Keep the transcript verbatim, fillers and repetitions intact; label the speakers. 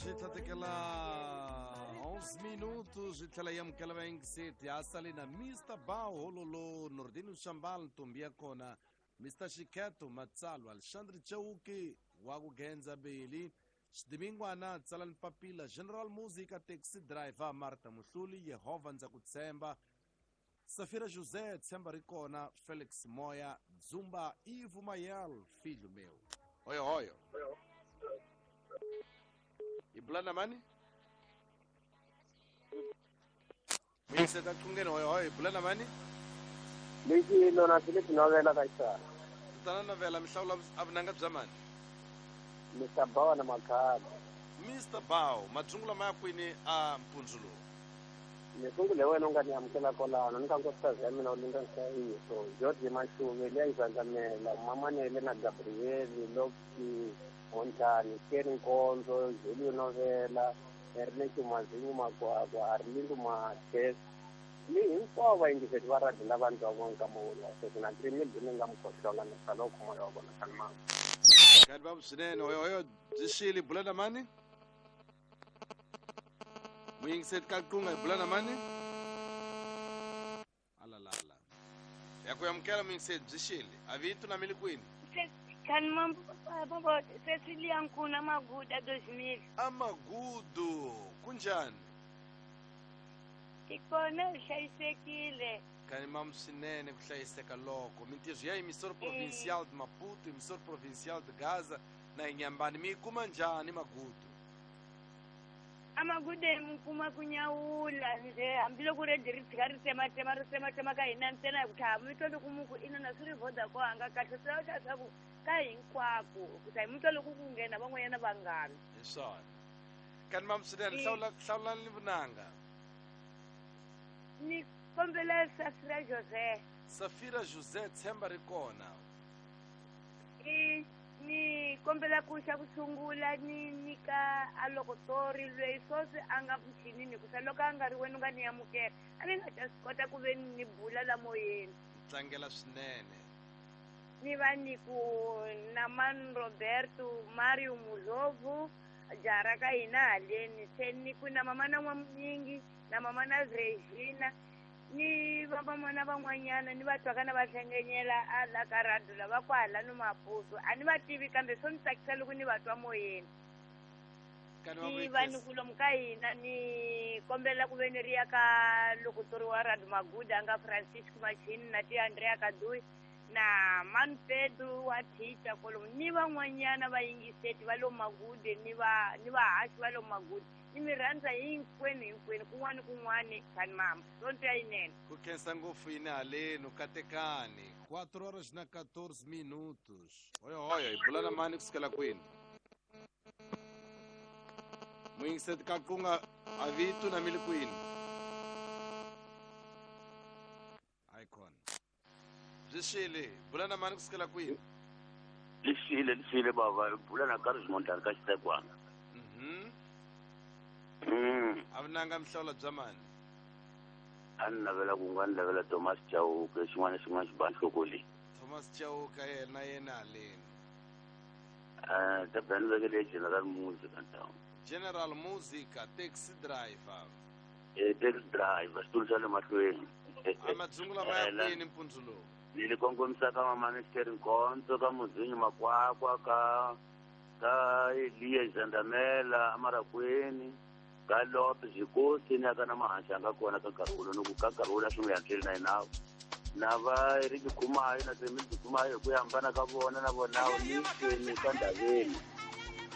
Speaker 1: Xitlhatekela onze minutos hi tlhela yi amukela vayingiseti ha sale na Mister Bao Hololo Nordino Shambal ntombi ya kona Mister Xikheto Matsalwa Alexandre Chauke wa ku Genza Beli Xidimingwana Tsalani Papila General Musica Taxi Driver Martha Muhluli Yehova ndza ku tshemba Safira José tshemba ri kona Felix Moya Dzumba Ivo Mayel filho meu. Hoyo hoyo. Ibulana mani? Muyingiseta qungeni hoyo hoyo ibulana mani?
Speaker 2: Lexi lona Philip Novela ka xana.
Speaker 1: Tana Novela mihlawula avunanga bya mani?
Speaker 2: Mister Bao na Makhado.
Speaker 1: Mister Bao, madzungula ma ya kwini a mpundzu lowu?
Speaker 2: Ni sungule wena u nga ni amukela kwalano ni ka nkosikazi ya mina u linga nhlayiso George Mashuve leyi Zandamela Mamanele na Gabriel Loki Montani Kerry Nkonzo Julio Novela Ernest Mazingu Makwakwa Arlindo Mathe ni hinkwavo vayingiseti va radio lava ndzi va vonaka mawulu wa sweswi na trimil ni nga mukhohlonga ni sala u khoma wa vona kani mama.
Speaker 1: Kani babu swinene hoyo hoyo byi xile bula na mani? Muyingiseti ka qunga hi bula na mani? Alalala. Ya ku amukela muyingiseti byi xile. A vito na mili kwini?
Speaker 3: Kani mambo Cecilia Nkuna Maguda dois mil.
Speaker 1: Amagudu kunjani?
Speaker 3: Ikona hlayisekile.
Speaker 1: Kani mam swinene ku hlayiseka loko mintirho ya emissora provincial de Maputo, emissora provincial de Gaza na Inhambane mi kuma njhani Magudu?
Speaker 3: Amagude mukuma kunyawula nje hambiloko redi ri tshika ri tsematema ri tsematema ka hina ntsena hi ku tlhava mi twa loko muku ina na swi ri Vodacom a nga kahle swi lava leswaku ka hinkwako ku ta hi mi twa loko ku nghena van'wanyana vangani.
Speaker 1: Hi swona. Kani mam swinene hlawula hlawulani vunanga.
Speaker 3: Ni kombela Safira José.
Speaker 1: Safira José tshemba ri kona.
Speaker 3: I ni kombela ku xa ku sungula ni nyika a lokotori loyi swoswi a nga muchinini ku sa loko a nga ri wena u nga ni amukela a ni nga ta swi kota ku ve ni bula la moyeni.
Speaker 1: Tlangela swinene.
Speaker 3: Ni va ni ku na Man Roberto Mario Mulovu jara ka hina haleni se ni ku na mama na N'wamunyingi na mama na Regina ni va vamana van'wanyana ni va twaka na va hlengenyela a la ka radio lava kwala no Maputo a ni va tivi kambe swo ni tsakisa loko ni va twa moyeni. Ni va ni ku lomu ka hina ni kombela ku ve ni ri ya ka lokotori wa radio Maguda a nga Francisco Machini na ti Andrea Kadui na Man Pedro wa Tita kolomu ni van'wanyana vayingiseti va lo Magude ni va ni vahaxi va lo Magude ni mi rhandza hinkwenu hinkwenu kun'wana kun'wana kani mama sonto ya yinene.
Speaker 1: Ku khensa ngopfu yini haleni katekani quatro horas na quatorze minutos. Hoyo hoyo hi bula na mani kusukela kwini? Muyingiseti ka qunga a vito na mili kwini? Icon. Byi xile bula na mani kusukela kwini?
Speaker 4: Lixile lixile bava bula na Carlos Montana ka Xitekwana.
Speaker 1: Mhm.
Speaker 4: Mm.
Speaker 1: A vunanga mihlawula bya mani?
Speaker 4: A ni navela ku nga ni lavela Thomas Chauke xin'wana na xin'wana xi ba nhloko leyi.
Speaker 1: Thomas Chauke yena yena haleni.
Speaker 4: Eh, ta bani vekele General Musica ntawu.
Speaker 1: General Musica taxi driver.
Speaker 4: Eh, taxi driver xitulu xa le mahlweni.
Speaker 1: A madzungula ma ya kwini mpundzu lowu?
Speaker 4: Ni li kongomisa ka Mama Esther Nkonzo ka Muzinyi Makwakwa ka ka Eliya Zandamela Amarakweni ka Lope Zikosi ni aka na mahansi a nga kona ka nkarhi wolowo ni ku ka nkarhi wolowo swi n'wi yantsweli na yena na va Eric Khumayo na Semi Khumayo hi ku hambana ka vona na vona ni ni ka Ndaveni